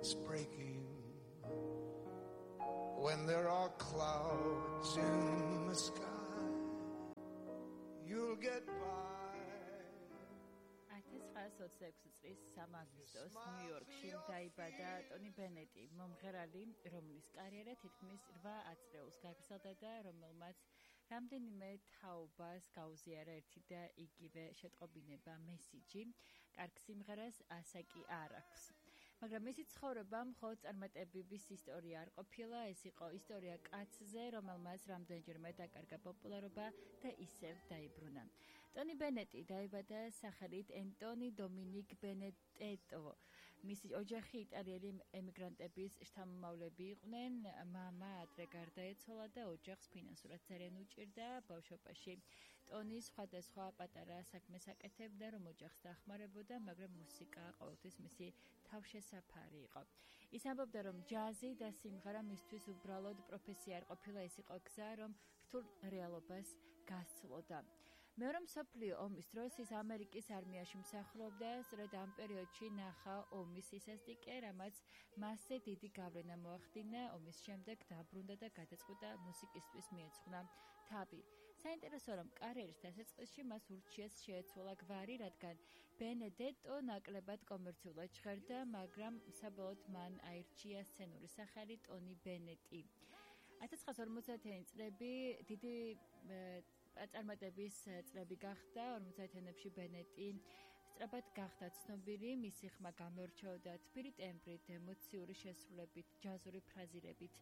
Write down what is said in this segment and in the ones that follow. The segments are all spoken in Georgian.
it's breaking. When there are clouds in the sky, you'll get by. 1926 წლის 3 აგვისტოს ნიუ-იორკში დაიბადა ტონი ბენეტი, მომღერალი, რომლის კარიერა თითქმის 8 წელს გაგრძელდა და რომელმაც რამდენიმე თაობას გაუზიარა ერთი და იგივე შეტყობინება მესიჯი, კარგ სიმღერას ასაკი არ აქვს. მაგრამ მისი ცხოვრება მხოლოდ წარმატებების ისტორია არ ყოფილა, ეს იყო ისტორია კაცზე, რომელმაც რამდენჯერმე დაკარგა პოპულარობა და ისევ დაიბრუნა. ტონი ბენეტი დაიბადა სახელით ენტონი დომინიკ ბენეტეტო. მისი ოჯახი იტალიელი ემიგრანტების შთამომავლები იყვნენ, მამა ადრე გარდაეცვალა და ოჯახს ფინანსურად ძალიან უჭირდა. ბავშვობაში ტონი სხვადასხვა პატარა საქმეს აკეთებდა, რომ ოჯახს დახმარებოდა, მაგრამ მუსიკა ყოველთვის მისი თავშესაფარი იყო. ის ამბობდა, რომ ჯაზი და სიმღერა მისთვის უბრალოდ პროფესია არ ყოფილა, ეს იყო გზა, რომ რთულ რეალობას გასცლოდა. მეორე მსოფლიო ომის დროს ის ამერიკის არმიაში მსახურობდა, სწორედ ამ პერიოდში ნახა ომის სისასტიკე, რამაც მასზე დიდი გავლენა მოახდინა. ომის შემდეგ დაბრუნდა და გადაწყვიტა მუსიკისთვის მიეძღვნა თავი. საინტერესოა, რომ კარიერის დასაწყისში მას ურჩიას შეეცვალა გვარი, რადგან ბენედეტო ნაკლებად კომერციულად ჟღერდა, მაგრამ საბოლოოდ მან აირჩია სცენური სახელი ტონი ბენეტი. 1950-იანი წლები დიდი წარმატების წლები გახდა. 50-იანებში ბენეტი სწრაფად გახდა ცნობილი, მისი ხმა გამორჩეოდა თბილი ტემბრით, ემოციური შესრულებით, ჯაზური ფრაზირებით.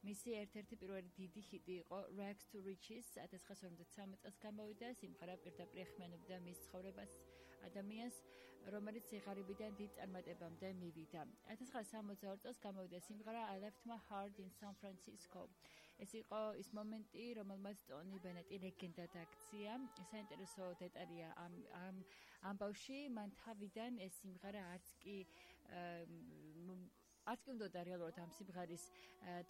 მისი ერთ-ერთი პირველი დიდი ჰიტი იყო Rags to Riches, 1953 წელს გამოვიდა. სიმღერა პირდაპირ ეხმიანებდა მის ცხოვრებას, ადამიანს, რომელიც სიღარიბიდან დიდ წარმატებამდე მივიდა. 1962 წელს გამოვიდა სიმღერა I Left My Heart in San Francisco. ეს იყო ის მომენტი, რომელმაც ტონი ბენეტი ლეგენდად აქცია. საინტერესო დეტალია ამ ბავში მან თავიდან ეს სიმღერა არც კი უნდოდა რეალურად ამ სიმღერის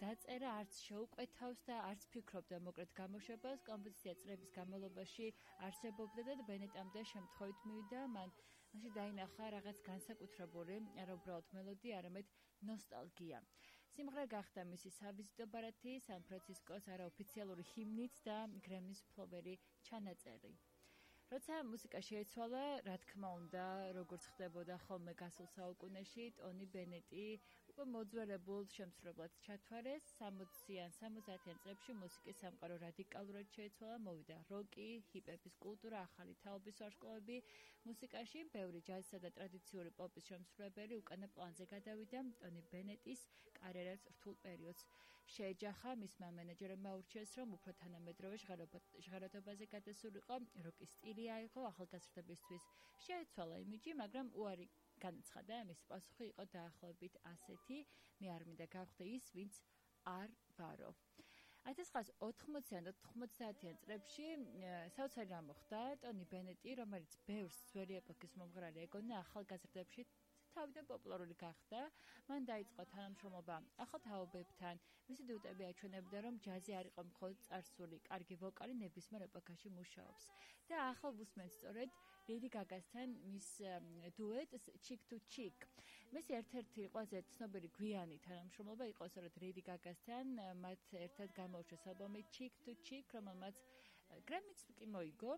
დაწერა, არც შეუყვეთავს და არც ფიქრობდა მოკლედ გამოშვებას. კომპოზიცია წლების განმავლობაში არსებობდა და ბენეტამდე შემთხვევით მივიდა. მანში დაინახა რაღაც განსაკუთრებული, არა უბრალოდ მელოდია, არამედ ნოსტალგია. სიმღერა გახდა მისი სავიზიტო ბარათი, სან-ფრანცისკოს არაოფიციალური ჰიმნით და გრემის მფლობელი ჩანაწერი. როცა მუსიკა შეეცვალა, რა თქმა უნდა, როგორც ხდებოდა ხოლმე გასულ საუკუნეში, ტონი ბენეტი უკვე მოძველებულ შემსრულებლად ჩათვალეს. 60-იან 70-იან წლებში მუსიკის სამყარო რადიკალურად შეეცვალა, მოვიდა როკი, ჰიპ-ჰოპის კულტურა, ახალი თაობის ვარსკვლავები მუსიკაში, ბევრი ჯაზისა და ტრადიციული პოპის შემსრულებელი უკანა პლანზე გადავიდა. ტონი ბენეტის კარიერას რთულ პერიოდს შეეჯახა. მისმა მენეჯერებმა აურჩიეს, რომ უფრო თანამედროვე ჟღერადობაზე გადასულიყო, როკის სტილი აიღო, ახალგაზრდებისთვის შეეცვალა იმიჯი, მაგრამ უარი განაცხადა. მისი პასუხი იყო დაახლოებით ასეთი: მე არ მინდა გავხდე ის, ვინც არ ვარო. 1980-იან და 90-იან წლებში საოცარი რამ მოხდა. ტონი ბენეტი, რომელიც ბევრს ძველი ეპოქის მომღერალი ეგონა, ახალგაზრდებში თავიდან პოპულარული გახდა. მან დაიწყო თანამშრომლობა ახალ თაობებთან. მისი დიუტები აჩვენებდა, რომ ჯაზი არ იყო მხოლოდ წარსული, კარგი ვოკალი ნებისმიერ ეპოქაში მუშაობს. და ახალ ვუსმენთ სწორედ ლედი გაგასთან მის დუეტს Chick to Chick. მისი ერთ-ერთი ყველაზე ცნობილი გვიანი თანამშრომლობა იყო სწორედ ლედი გაგასთან. მათ ერთად გამოუშვეს ალბომი Chick to Chick, რომელმაც გრემიც კი მოიგო.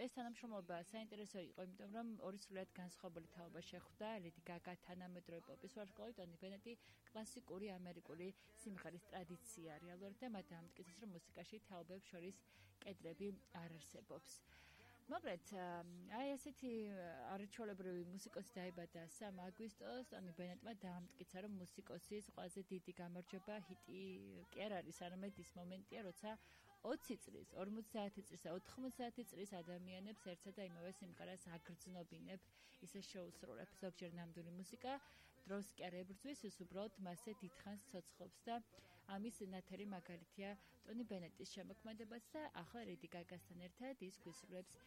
ეს თანამშრომლობა საინტერესო იყო, იმიტომ რომ ორი სრულიად განსხვავებული თაობა შეხვდა. ლედი გაგა თანამედროვე პოპის ვარსკვლავი, ტონი ბენეტი კლასიკური ამერიკული სიმღერის ტრადიცია. რეალურად და მათ ამტკიცეს, რომ მუსიკაში თაობებს შორის კედლები არ არსებობს. მოკლედ, აი ესეთი არაჩვეულებრივი მუსიკოსი დაიბადა 3 აგვისტოს. ტონი ბენეტმა დაამტკიცა, რომ მუსიკოსის ყველაზე დიდი გამარჯვება ჰიტი კი არ არის, არამედ ის მომენტია, როცა 20 წლის, 50 წლის და 90 წლის ადამიანებს ერთსა და იმავე სიმღერას აგრძნობინებ, ისე შეუსრულებ. ზოგჯერ ნამდვილი მუსიკა დროს კი არ ებრძვის, ის უბრალოდ მასზე დიდხანს ცოცხლობს და ამის ნათელი მაგალითია ტონი ბენეტის შემოქმედებაც და ახლა ლედი გაგასთან ერთად ის გვისრულებს